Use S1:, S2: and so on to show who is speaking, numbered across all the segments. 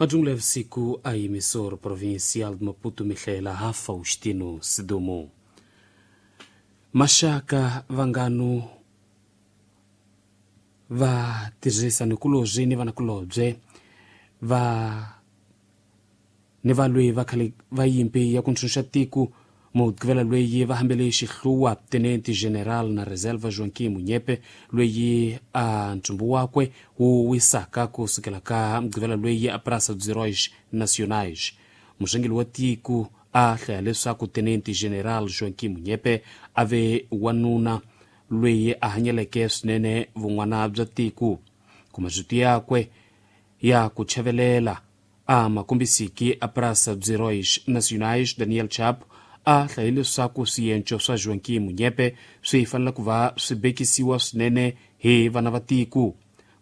S1: Majungula ya vusiku a emissora provincial de Maputo mihlela ha Faustino Sidumo. Maxaka vanganu va tirhisanikulobye ni vanakulobye va ni valwi va khale va yimpi ya ku ntshunxa tiko mugqivela loyi va hambele xihluwa tenente general na reserva Joaquim Munyepe loyi a ntsumbu wakwe wu wisaka ku sukela ka mugqivela loyi a Praça dos Heróis Nacionais. Murhangeri wa tiko a hlaya leswaku tenente general Joaquim Munyepe a ve wanuna loyi a hanyeleke swinene vun'wana bya tiko. Ku marito yakwe ya ku chavelela a ma kombisiki a Praça dos Heróis Nacionais Daniel Chapo a hlaye leswaku swienco swa Joaquim Munyepe swi fanele ku va swi bekisiwa swinene hi vana va tiko.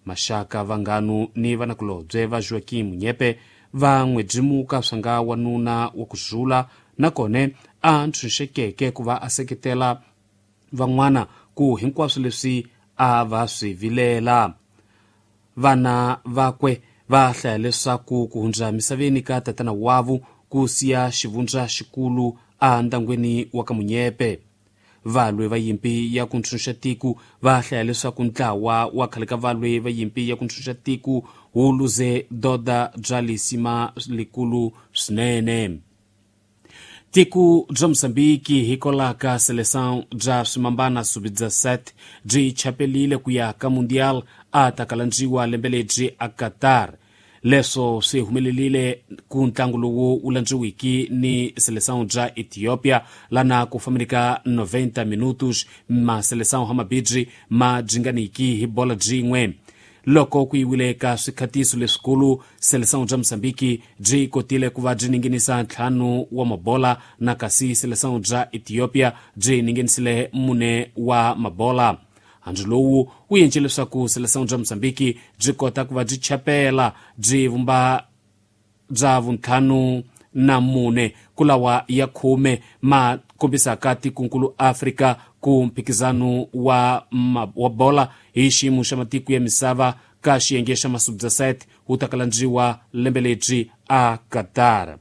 S1: Maxaka vanganu ni vanakulobye va Joaquim Munyepe va n'wi byimuka swa nga wanuna wa ku zula nakona a ntshunxekeke ku va a seketela van'wana ku hinkwaswo leswi a va swi vilela. Vana vakwe va hlaya leswaku ku hundza misaveni ka tatana wavo ku siya xivundza xikulu endyangwini wa ka Munyepe. Valwi va yimpi ya ku ntshunxa tiko va hlaya leswaku ntlawa wa khale ka valwi va yimpi ya ku ntshunxa tiko wu luze doda bya lisima likulu swinene. Tiko bya Mozambiki hikwalaho Seleção bya swimambana sub-17 byi chapelile ku ya ka Mundial a ta kalandziwa lembe lebyi a Qatar. Leswo swi humelelile ku ntlangu lowu wu landziwiki ni Seleção bya Ethiopia lana ku fambeni ka 90 minutos ma Seleção hamabidri ma dyinganiki hi bola byin'we. Loko ku yiwile ka swikhatiso leswikulu, Seleção bya Mozambiki byi kotile ku va byi ninginisa 5 wa mabola na kasi Seleção bya Ethiopia byi ninginisile 4 wa mabola. Handzu lowu wu endle leswaku Seleção bya Mozambiki byi kota ku va byi chapela byi vumba bya vuntlhanu na mune ku lawa ya 10 ma kombisaka tikunkulu Afrika ku mphikizano wa bola hi xiyimo xa matiko ya misava ka xiyenge xa masub-17 wu ta kalandziwa lembe lebyi a Qatar.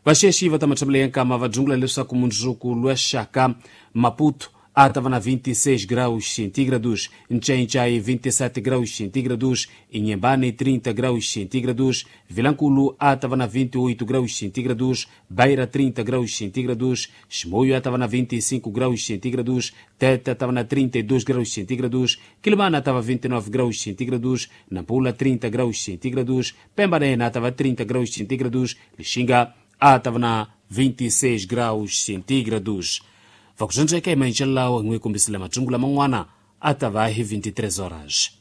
S1: Vaxexi va ta matshambele ya nkama va dzungula leswaku mundzuku lwa xaka Maputo a ta va na 26 graus centígrados, Nchainchai 27 graus centígrados, Inhambane 30 graus centígrados, Vilanculo a ta va na 28 graus centígrados, Beira 30 graus centígrados, Chimoio a ta va na 25 graus centígrados, Tete ta va na 32 graus centígrados, Quilimana tava 29 graus centígrados, Nampula 30 graus centígrados, Pemba tava 30 graus centígrados, Lixinga a tava na 26 graus centígrados. Vakuxandzeka emanxelawo hi n'wi kombisile matsungula man'wana a ta va hi 23 horas.